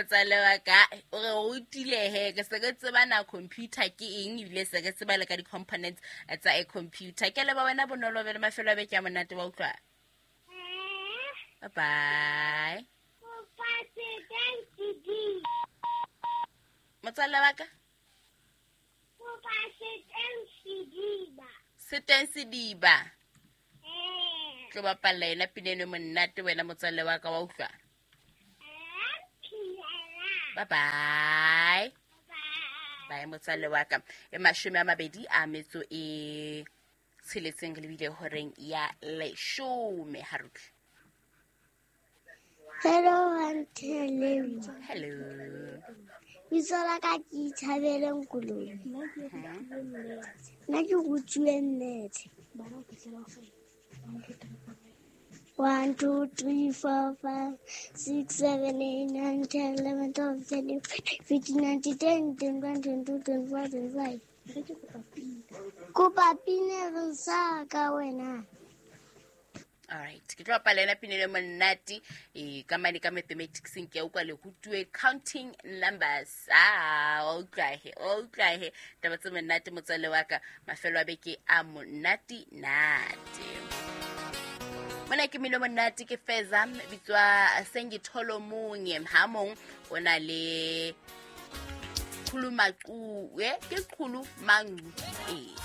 Motswalle wa ka o re rutile he, ke se ke tseba na computer ke eng, ebile se ke tseba le ka di-components tsa a computer. Ke leba wena Bonolo, be le mafelo a beke a monate, wa utlwa? Bye bye, motswalle wa ka. Seteng sediba tlo bapalla yena pina eno e monate, wena motswalle wa ka, wa utlwa? Bye bye bye, motswalle wa ka. E 26 re lebile horeng ya 10, harutle. Hello, Auntie Lemo. Hello. Bitso la ka ke Ithabeleng Kolobe. Nna ke rutuwe nnete. 1, 2, 3, 4, 5, 6, 7, 8, 9, 10, 11, 12, 13, 14, 15, 10, 21, 22, 24, 25. Kopa pina re sa ka wena. Alright, ke tlo bapala yona pina e monate e ka mane ka mathematicseng. Ke a utlwa le rutuwe counting numbers. Ah, wa utlwa he, wa utlwa he, taba tse monate, motswalle wa ka. Mafelo a beke a monate nate. Mona ke mino monate, ke Feza, bitswa Sengitholo Munye, ha mong o na le Khulumaque, ke Qhulu Mangu, ee.